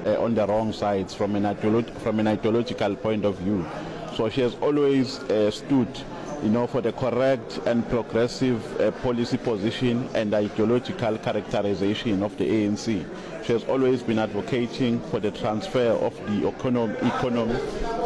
uh, on the wrong sides from an, from an ideological point of view. So she has always uh, stood you know, for the correct and progressive uh, policy position and ideological characterization of the ANC. She has always been advocating for the transfer of the economy, economy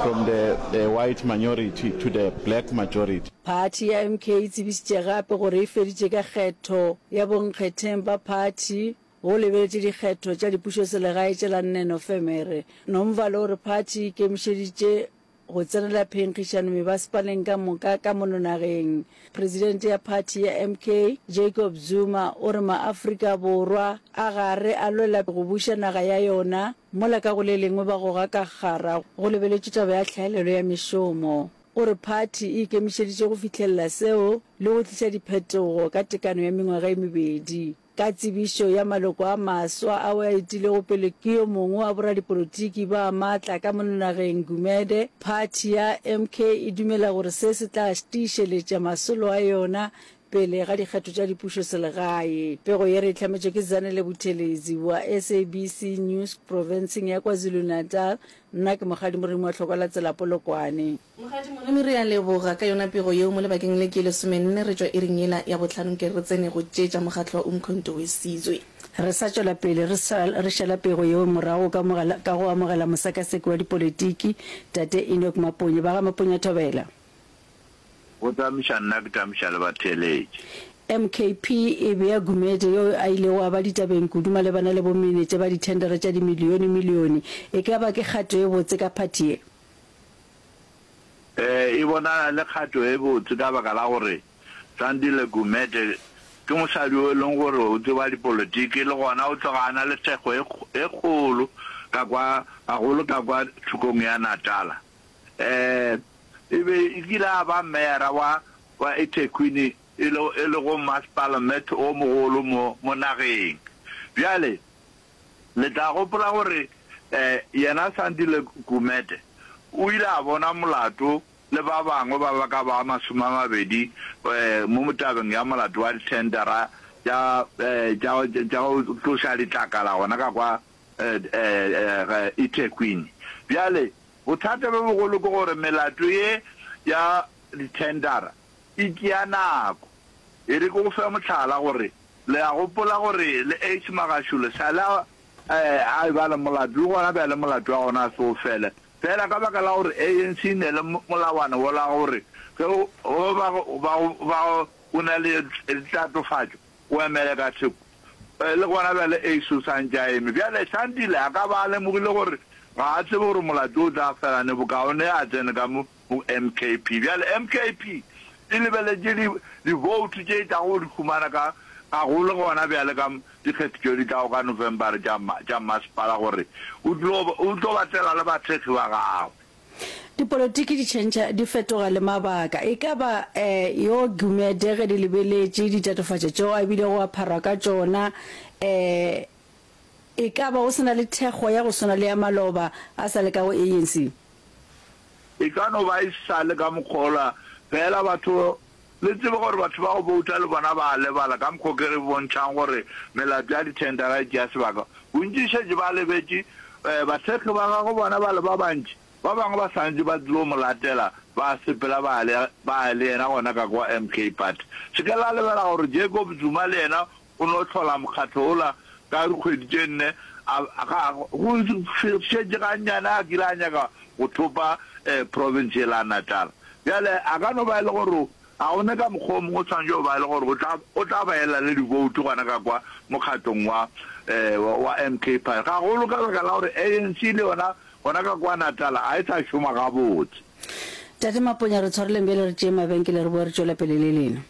from the, the white minority to the black majority. Phathi ya MK e tsebišitše gape gore e feditše ka kgetho ya bonkgetheng ba phathi go lebeletše dikgetho tša dipušoselegae tše la nne Nofemere. Nomvalo o re phathi e ikemišeditše go tsenela phenkgišano mebasepaleng ka moka ka mono nageng. Presidente ya phathi ya MK, Jacob Zuma, o re maAfrika Borwa a gare a lwela go buša naga ya yona, mola ka go le lengwe ba goga ka kgara go lebeletšwe taba ya tlhaelelo ya mešomo. O re phathi e ikemišeditše go fihlelela seo le go tliša diphetogo ka tekano ya mengwaga e mebedi. Ka tsebišo ya maloko a maswa ao a etilego pele ke yo mongwe wa boradipolotiki ba maatla ka mono nageng, Gumede, phathi ya MK e dumela gore se se tla tiišeletša masolo a yona pele ga dikgetho tša dipušoselegae. Pego ye re e hlametšwe ke Zanele Buthelezi wa SABC News profenseng ya KwaZulu-Natal. Nna ke Mokgadi Moremi wa Tlhokwa la Tsela Polokwane. Mokgadi Moremi re a leboga ka yona pego yeo mo lebakeng le ke lesomenne re tšwa iring yela ya bohlano nke re tsene go tše tša mokgatlo wa Umkhonto we Sizwe. Re sa tšwela pele re sa re šala pego yeo morago ka mogela ka go amogela mosakaseki wa dipolitiki Tate Enoch Maponye ba ga Maponya Thobela. Go tamiša nna ke tamiša le batheeletši. MKP e bea Gumede yo a ilego a ba ditabeng kudu malebana le bomenetša ba dithendere tša dimilionemilione e ka ba ke kgato e botse ka phathi ye. E bonala e le kgato e botse ka baka la gore Sandile Gumede ke mosadi o e leng gore o tseba dipolotiki le gona o tloga a na le thekgo e kgolo ka kwa, gagolo ka kwa thokong ya Natala. E be e kile a ba meyara wa wa eThekwini e le e lego masepala o mogolo mo mo nageng. Bjale Le tla gopola gore yena Sandile Gumede o ile a bona molato le ba bangwe ba ba ka ba 20 mo tabeng ya molato wa dithendara tša tša go tloša ditlakala gona ka kwa eThekwini. Bjale bothata bjo bogolo ke gore melato ye ya dithendara e tšea nako. E re ke go fe mohlala gore Le a gopola gore le Ace Magashule sa le a eba le molato, le gona bjale molato wa gona a se o fele. Feela ka baka la gore ANC e ne le molawana wola gore ge o ba ba o na le tatofatšo o emele ka theko. Le gona bjale Ace o sa ntše a eme. Bjale Sandile a ka ba a lemogile gore ga a tsebe gore molato o tla fela neng, bokaone a tsene ka mo go MKP. Bjale MKP e lebeletše di, divoutu tše e tlago go di humana ka, gagolo gona bjale ka dikgetho tšeo di tlago ka November tša, tša mmasepala gore o tlo, o tlo ba tlela le bathekgi ba gagwe. Dipolotiki di tšhentšha, di fetoga le mabaka. E ka ba yo Gumede ge di lebeletše ditatofatšo tšeo a bilego a pharwa ka tšona, e ka ba o se na le thekgo ya go swana le ya maloba a sa le ka go ANC? E ka no ba e sa le ka mokgwa wola, fela batho, le tsebe gore batho ba go bouta le bona ba a lebala ka mokgwa o ke re bontšhang gore melato ya dithendara e tšea sebaka. Bontši šetše ba lebetše, bathekgi ba gagwe bona ba le ba bantši, ba bangwe ba sa ntše ba tlilo mo latela, ba sepela ba ya le, ba ya le yena gona ka kwa MK Party. Se ke la lebala gore Jacob Zuma le yena O no hlola mokgatlo wola ka dikgwedi tše nne, a, ga, go šetše gannyane a kile a nyaka go thopa province yela ya Natal. Bjale a ka no ba e le gore ga go ne ka mokgwa o mongwe o swanetše go ba e le gore o tla, o tla ba ela le divoutu gona ka kwa mokgatlong wa, wa MK Party, gagolo ka baka la gore ANC le yona gona ka kwa Natal ga e sa šoma gabotse. Tate Maponya, re tshwareleng bjale re tšee mabenkele re boe re tšwele pele le lena.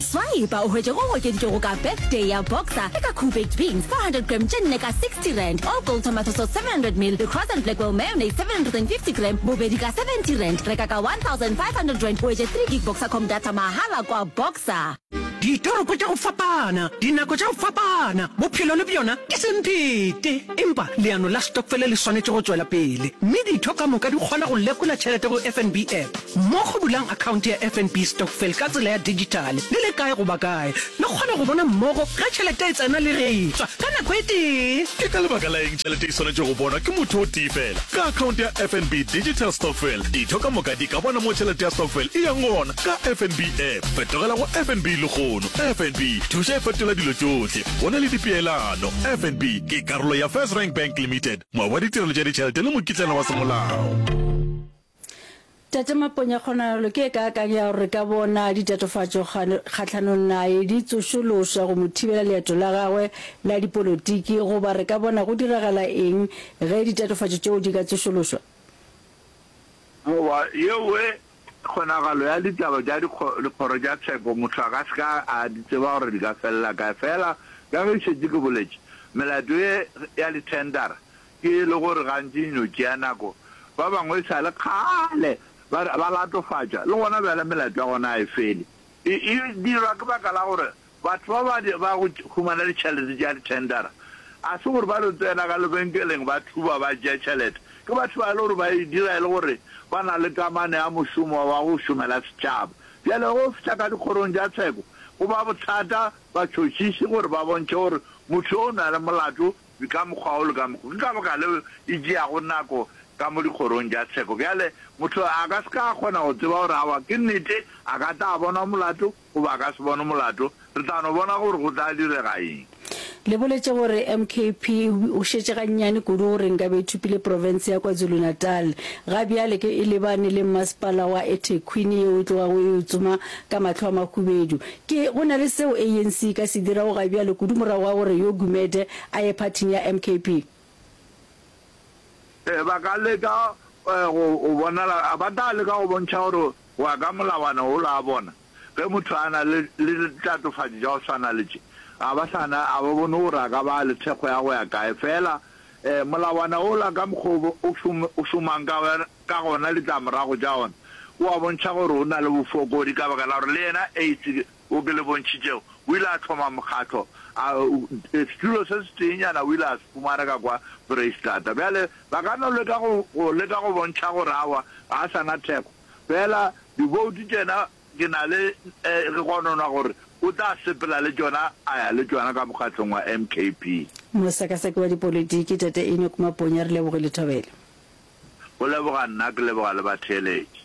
Swipa o hwetše go okeditšwego ka Birthday ya Boxer le ka Koo Baked Beans 400 gram tše nne ka R60, All Gold Tomato Sauce 700 ml le Cross and Blackwell Mayonnaise 750 gram bobedi ka R70. Reka ka R1500 o hwetše 3 gig Boxercom data mahala kwa Boxer. Ditoropo tša go fapana, dinako tša go fapana, bophelo le bjona ke semphete. Empa leano la stokfele le swanetše go tšwela pele, mme ditho ka moka di kgona go lekola tšhelete go FNB app. Mmogo bulang akhaonte ya FNB Stokvel ka tsela ya dijithale le le kae goba kae. Le kgona go bona mmogo ge tšhelete e tsena le ge e tšwa ka nako e tee. Ke ka lebaka la eng tšhelete e swanetše go bonwa ke motho o tee fela? Ka akhaonte ya FNB Digital Stokvel, ditho ka moka di ka bona mo tšhelete ya stokvel e yang gona ka FNB app. Fetogela go FNB lehono. FNB, thuša e fetola dilo tšohle. Go na le dipeelano. FNB ke karolo ya FirstRand Bank Limited, moabi wa ditirelo tša ditšhelete le mokitlana wa semolao. Tate Maponya, kgonagalo ke e kaakang ya gore re ka bona ditatofatšo kgahlanong naye di tsošološwa go mo thibela leeto la gagwe la dipolotiki, goba re ka bona go diragala eng ge ditatofatšo tšeo di ka tsošološwa? Goba yewe kgonagalo ya ditaba tša dikgoro tša tsheko motho a ka se ka a di tseba gore di ka felela kae. Fela ka ge šetše ke boletše, melato ye ya dithendara Ke e le gore gantši e no tšea nako. Ba bangwe e sa le kgale ba ba latofatšwa, le gona bjale melato ya gona ga e fele. E, e dirwa ke baka la gore batho ba ba ba go humana ditšhelete tša dithendara ga se gore ba no tsena ka lebenkeleng ba thuba ba tšea tšhelete. Ke batho ba e le gore ba e dira e le gore ba na le kamano ya mošomo wa go šomela setšhaba. Bjale ge o fihla ka dikgorong tša tsheko go ba bothata batšhotšhiši gore ba bontšhe gore motho yo o na le molato Ka mokgwa wo le ka mokgwa. Ke ka baka leo e tšeago nako ka mo dikgorong tša tsheko. Bjale, motho a ka se ka a kgona go tseba gore aowa ke nnete a ka tla a bonwa molato goba a ka se bonwe molato. Re tla no bona gore go tla direga eng. Le boletše gore MKP o šetše gannyane kudu gore nkabe e thopile profense ya KwaZulu-Natal. Ga bjale ke e lebane le mmasepala wa eThekwini yeo e tlogago e o tsoma ka mahlo a mahubedu. Ke go na le seo ANC e ka se dirago ga bjale kudu morago ga gore yo Gumede a ye phathing ya MKP? Ee, ba ka leka go bonala, ba tla leka go bontšha gore go ya ka molawana wola wa bona, ge motho a na le le ditatofatšo tša go swana le tše, ga ba sa na, ga ba bone gore a ka ba le thekgo ya go ya kae. Feela molawana wola ka mokgwa o o šomang ka ka gona ditlamorago tša ona, o a bontšha gore o na le bofokodi ka baka la gore le yena AIDS wo ke le bontšhitšego o ile a hloma mokgatlo, a setulo se seteenyana o ile a se fumana ka kwa Foreisetata. Bjale ba ka no leka go, go leka go bontšha gore aowa ga a sa na thekgo, fela diboutu tšena ke na le re gononwa gore o tla sepela le tšona a ya le tšona ka mokgatlong wa MKP. Mosekaseki wa dipolitiki, Tate Enoch Maponya, re lebogile Thobela. Go leboga nna, ke leboga le batheeletši.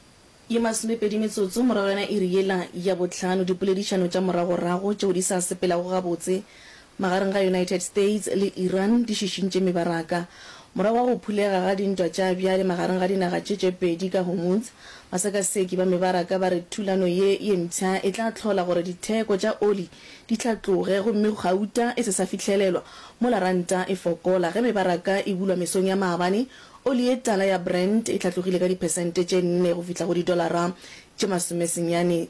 Ye masomepedi metsotso morago ga yona iri yela ya bohlano, dipoledišano tša moragorago tšeo di sa sepelago gabotse magareng ga United States le Iran di šišintše mebaraka. Morago ga go phulega ga dintwa tša bjale magareng ga dinaga tše tše pedi ka Hormuz, basekaseki ba mebaraka ba re thulano ye ye mpsha e tla hlola gore ditheko tša oli di hlatloge gomme gauta e se sa fihlelelwa mola ranta e fokola. Ge mebaraka e bulwa mesong ya maabane, oli ye tala ya Brent e hlatlogile ka diphesente tše nne go fihla go didolara tše masomesenyane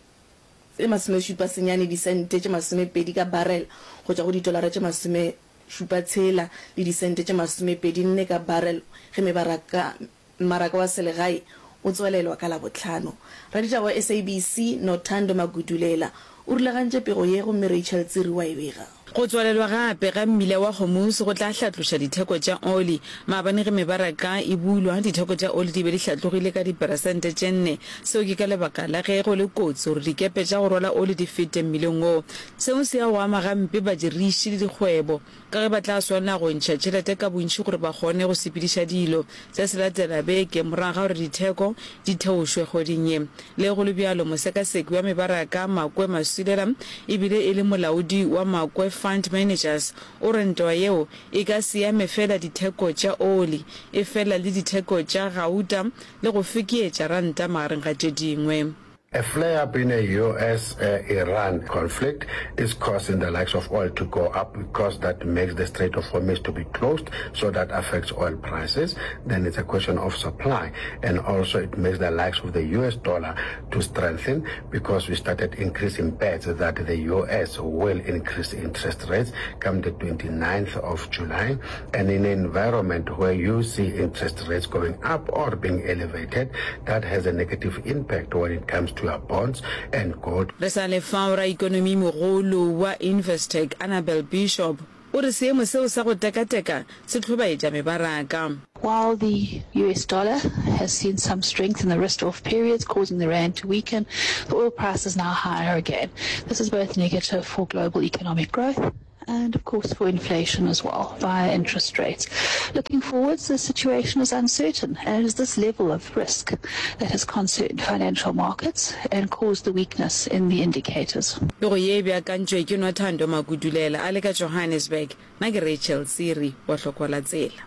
tse masomešupa senyane disente tše masomepedi ka barrel go tšwa go didolara tše masomešupa tshela le disente tše masomepedi nne ka barrel ge mebaraka Mmaraka wa selegae o tswalelwa ka Labohlano. Raditaba wa SABC, Nothando Magudulela, o rulagantše pego ye gomme Rachel Tsiri wa e bega. Go tswalelwa gape ga mmila wa Hormuz go tla hlatloša ditheko tša oli. Maabane ge mebaraka e bulwa, ditheko tša oli di be di hlatlogile ka diperesente tše nne. Seo ke ka lebaka la ge go le kotsi gore dikepe tša go rwala oli di fete mmileng woo. Seo se ya go ama gampe badiriši le dikgwebo. Ka ge ba tla swanela go ntšha tšhelete ka bontši gore ba kgone go sepediša dilo. Se se latela beke morago ga gore ditheko di theošwe kgweding ye. Le go le bjalo, mosekaseki wa mebaraka Makwe Masilela e bile e le molaodi wa Makwe Fund Managers o re ntwa yeo e ka se ame feela ditheko tša oli, efela le ditheko tša gauta le go fekeetša ranta magareng ga tše dingwe. A flare-up in a US-Iran conflict is causing the likes of oil to go up because that makes the Strait of Hormuz to be closed, so that affects oil prices. Then it's a question of supply, and also it makes the likes of the US dollar to strengthen because we started increasing bets that the US will increase interest rates come the 29th of July. And in an environment where you see interest rates going up or being elevated, that has a negative impact when it comes to your bonds and gold. Re sa le fao, raikonomimogolo wa Investec, Annabel Bishop, o re seemo seo sa go tekateka se hlobaetša mebaraka. While the US dollar has seen some strength in the risk-off periods, causing the rand to weaken, the oil price is now higher again. This is both negative for global economic growth and of course for inflation as well via interest rates. Looking forwards, the situation is uncertain and it is this level of risk that has concerned financial markets and caused the weakness in the indicators. Pego ye e beakantšwe ke Nothando Makudulela a le ka Johannesburg. Nna ke Rachel Tsiri wa Hlokwa la Tsela.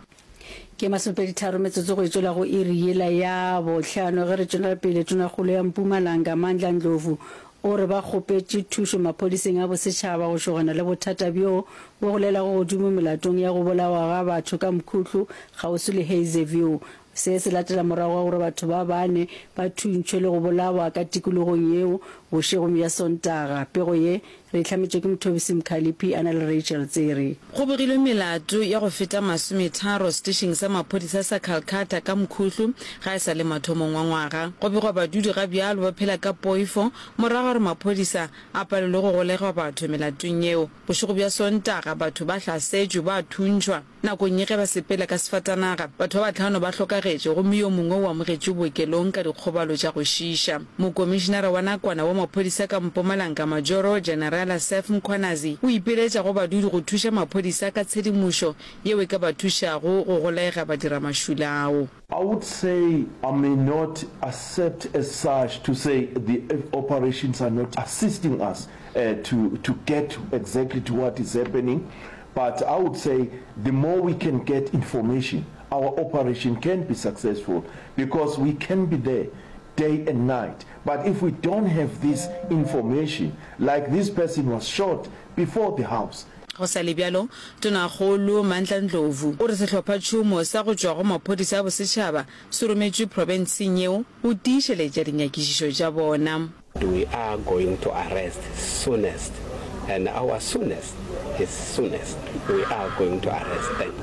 Ke masomepeditharo metsotso go e tšwela go iri yela ya bohlano ge re tšwela pele. Tonakgolo ya Mpumalanga, Mandla Ndlovu, o re ba kgopetše thušo maphodiseng a bosetšhaba go šogana le bothata bjo bo golelago godimo melatong ya go bolawa ga batho ka mkhuhlu kgauswi le Hazyview. Se se latela morago ga gore batho ba bane ba thuntšhwe le go bolawa ka tikologong yeo bošegong bja Sontaga. Pego ye Re e hlametšwe ke Mthobisi Mkhaliphi a na le Rachel Tsere. Go begilwe melato ya go feta masometharo setešeng sa maphodisa sa Calcutta ka Mkhuhlu ga e sa le mathomong wa ngwaga. Go begwa badudi ga bjalo ba phela ka poifo morago ga gore maphodisa a palelwe go golegwa batho melatong yeo. Bošego bja Sontaga batho ba hlasetšwe ba thuntšhwa. Nakong ye ge ba sepela ka sefatanaga, batho ba bahlano ba hlokagetše gomme yo mongwe o amogetšwe bookelong ka dikgobalo tša go šiiša. Mokomišinara wa nakwana wa maphodisa ka Mpumalanga Majoro Generala Seth Mkhwanazi o ipiletša go badudi go thuša maphodisa ka tshedimošo yeo e ka ba thušago go golega badiramašula ao. I would say I may not accept as such to say the operations are not assisting us to to get exactly to what is happening but I would say the more we can get information our operation can be successful because we can be there day and night but if we don't have this information like this person was shot before the house Go sa le bjalo, Tonakgolo Mandla Ndlovu o re sehlophatšhomo sa go tšwa go maphodisa a bosetšhaba se rometšwe profenseng yeo go tiišeletša dinyakišišo tša bona. We are going to arrest soonest and our soonest is soonest we are going to arrest them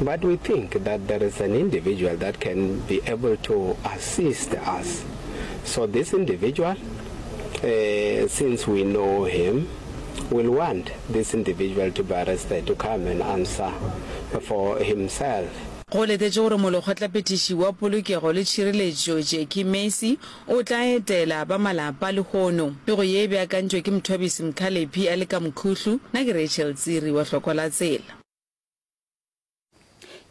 but we think that there is an individual that can be able to assist us so this individual uh, since we know him will want this individual to be arrested to come and answer for himself. Go letetšwe gore Molekgotlaphethiši wa Polokego le Tšhireletšo Jackie Macie o tla etela ba malapa lehono. Pego ye e beakantšwe ke Mthwabisi Mkhalephi a le ka Mkhuhlu, nna ke Rachel Tsiri wa Hlokwa la Tsela.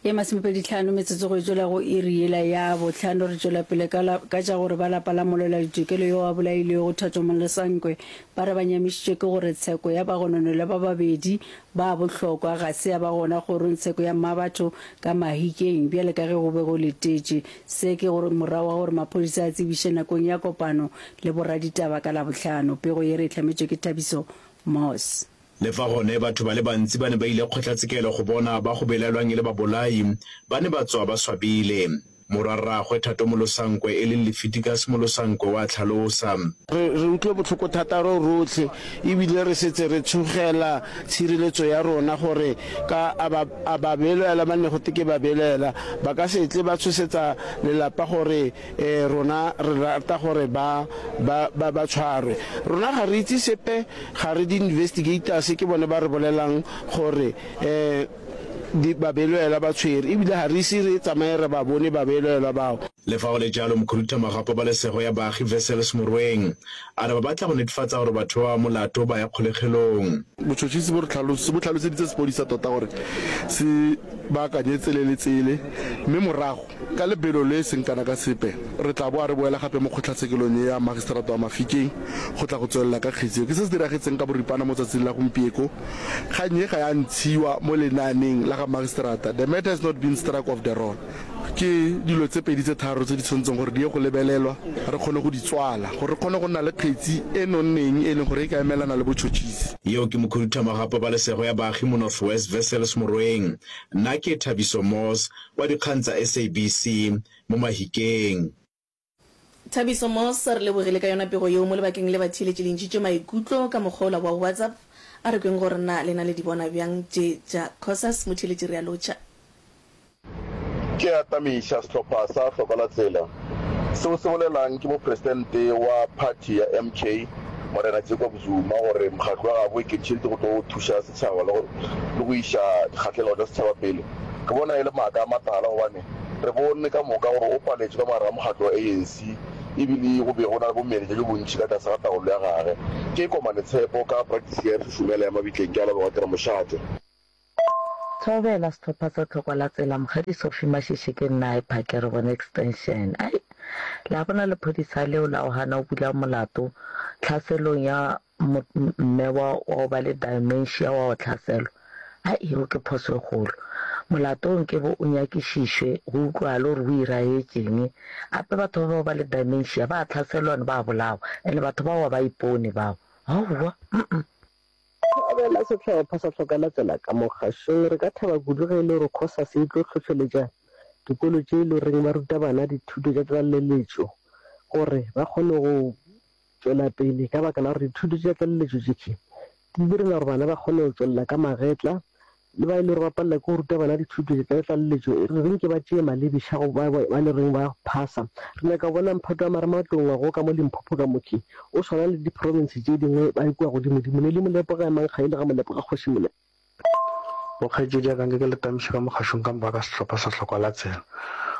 Ye masomepeditlhano metsotso go e tšwela go iri yela ya bohlano. Re tšwela pele ka la, ka tša gore ba lapa la molwela-ditokelo yo a bolailwego Thato Molosankwe ba re ba nyamišitšwe ke gore tsheko ya bagononelwa ba babedi ba bohlokwa ga se ya ba gona kgorongtsheko ya Mmabatho ka Mahikeng bjale ka ge go be go letetšwe. Se ke gore morago ga gore maphodisa a tsebiše nakong ya kopano le boraditaba ka Labohlano. Pego ye re e hlametšwe ke Thabiso Moss. Le fa gone batho ba le bantsi ba ne ba ile kgotlatshekelo go bona ba go belaelwang e le babolai, ba ne ba tswa ba swabile. Morwarraagwe Thato Molosankwe e leng Lefiticus Molosankwe o a tlhalosa. Re re utlwe botlhoko thata ro rotlhe ebile re setse re tshogela tshireletso ya rona gore ka a ba a ba belaela ba ne gote ke ba belaela ba ka se tle ba tshosetsa lelapa gore e rona re rata gore ba ba ba ba tshwarwe. Rona ga re itse sepe ga re di investigators ke bone ba re bolelang gore eh di babelaelwa ba tshwere ebile ga re ise re tsamaye re ba bone babelaelwa bao. Le fa go le jalo, mokhuduthamaga wa pabalesego ya baagi Wessels Morweng a re ba batla go netefatsa gore batho ba ba molato ba ya kgolegelong. Botšhotšhisi bo re bo hlaloseditse sepodisa tota gore se baakanye tsele le tsele mme morago Ka lebelo le e seng kana ka sepe, re tla boa re boela gape mo kgotlatshekelong ye ya Magistrata wa Mafikeng go tla go tswelela ka kgetsi ye. Ke se se diragetseng ka boripana mo tsatsing la gompieko. Kgang ye ga ya ntshiwa mo lenaaneng la ga Magistrata, the matter has not been struck off the roll. Ke dilo tse pedi tse tharo tse di tshwanetseng gore di ye go lebelelwa re kgone go di tswala gore re kgone go nna le kgetsi e nonneng e leng gore e ka emelana le botšhotšhisi. Yeo ke Mokhuduthamaga wa Pabalesego ya Baagi mo North West, Wessels Morweng. Nna ke Thabiso Moss, wa dikgang tsa SABC mo Mahikeng. Thabiso Moss, Re lebogile ka yona pego yeo mo lebakeng le batheeletši le ntšhitše maikutlo ka mokgwa ola wa WhatsApp. A re kweng gore na lena le di bona bjang tše tša Cosas. Motheeletši re a lotšha. Ke atamiša sehlopha sa Hloka la Tsela. Seo se bolelang ke mopresidente wa phathi ya MK, Morena Jacob Zuma gore mokgatlo wa gabo o ikemišeditše go tlo thuša setšhaba le go le go iša dikgahlego tša setšhaba pele. Ke bona e le maaka a matala gobane re bone ka moka gore o paletšwe ka mogare ga mokgatlo wa ANC ebile go be go na le bomenetša bjo bontši ka tlase ga taolo ya gage. Ke Komane Tshepo ka Practice ya Šušumela ya Mabitleng ke a leboga ke re mošate. Thobela sehlopha sa Tlhokwa la Tsela Mokgadi Sophie Mashishe ke nna ai phake re bone extension ai la bona lephodisa leo la go gana go bula molato tlhaselong ya mme wa wa go ba le dementia wa go hlaselwa ai yeo ke phoso e kgolo molato o nke bo o nyakišišwe go utlwale gore o iragetšeng ape batho ba ba go ba le dementia ba hlaselwa and ba bolawa and batho bao ga ba ipone bao aowa mm. Thabela sehlopha sa Hlokalatsela ka mo kgašong. Re ka thaba kudu ge e le gore Cosas e tlo hlohleletša dikolo tše e le goreng ba ruta bana dithuto tša tlaleletšo gore ba kgone go tšwela pele ka baka la gore dithuto tša tlaleletšo tše di direla gore bana ba kgone go tšwelela ka magetla le ba e le gore ba palela ke go ruta bana dithuto tša tlaleletšo e re nke ba tšee malebiša go ba ba le reng ba phasa. Re nyaka go bona mphato wa marematlou ngwago ka mo Limpopo ka mo ke o swana le diprofense tše dingwe ba kua godimodimo. Nelly Molepo ga emang ga ile ga Molepo ga Kgoši Molepo. Bokgaetšedi ya ka nke ke le tamiše ka mokgašong ka moka ka sehlopha sa Hlokwa la Tsela.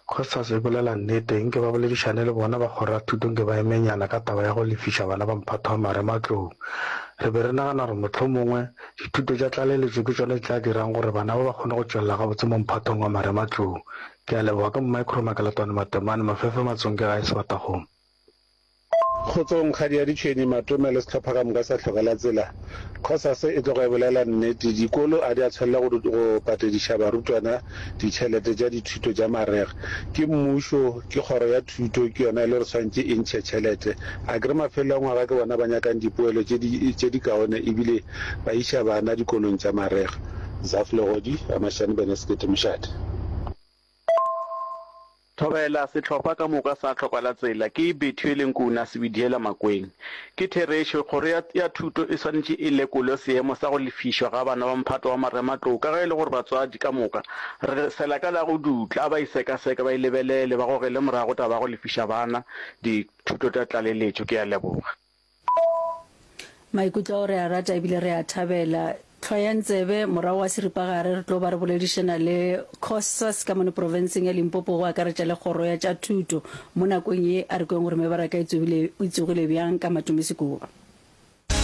Costas e bolela nnete, nke ba boledišane le bona ba kgoro ya thuto nke ba emenyana ka taba ya go lefiša bana ba mphato wa marematlou. Re be re nagana gore mohlomongwe Dithuto tša tlaleletšo ke tšona di tla dirang gore bana ba ba kgone go tšwelela gabotse mo mphatong wa marematlou. Ke a leboga. Ke Mmaikgoro Makelatwane Matemane, Mafefe Matsonke gae Sebatakgomo. Kgotsong, Kgadi ya Ditšhwene, Matome le sehlopha ka moka sa Hlokelatsela. Cosas e tloga e bolela nnete, dikolo a di a tshwanela go go patediša barutwana ditšhelete tša dithuto tša marega. Ke mmušo, ke kgoro ya thuto, ke yona e le gore tshwanetše e ntšhe tšhelete. Akere mafelelo a ngwaga ke bona ba nyakang dipoelo tše di tše dikaone ebile ba iša bana dikolong tša marega. Zaf Legodi, Ramashane Bene Sekete Mošate. Thobela, Sehlopha ka moka sa Hlokalatsela ke Bethuele Nkuna Sebidiela Makweng. Ke therešo, kgoro ya ya thuto e swanetše e lekole seemo sa go lefišwa ga bana ba mphato wa marematlou ka ge e le gore batswadi ka moka re sela ka la go dutla, a ba e sekaseke, ba e lebelele, ba gogele morago taba ya go lefiša bana dithuto tša tlaleletšo. Ke a leboga. Maikutlo ao re a rata ebile re a thabela. Hlwayang tsebe, morago ga seripagare re tlo ba re boledišana le Cosas ka mono profenseng ya Limpopo go akaretša le kgoro ya tša thuto. Mo nakong ye a re kweng gore mebaraka e tsogile, e tsogile bjang ka Matome Sekuba.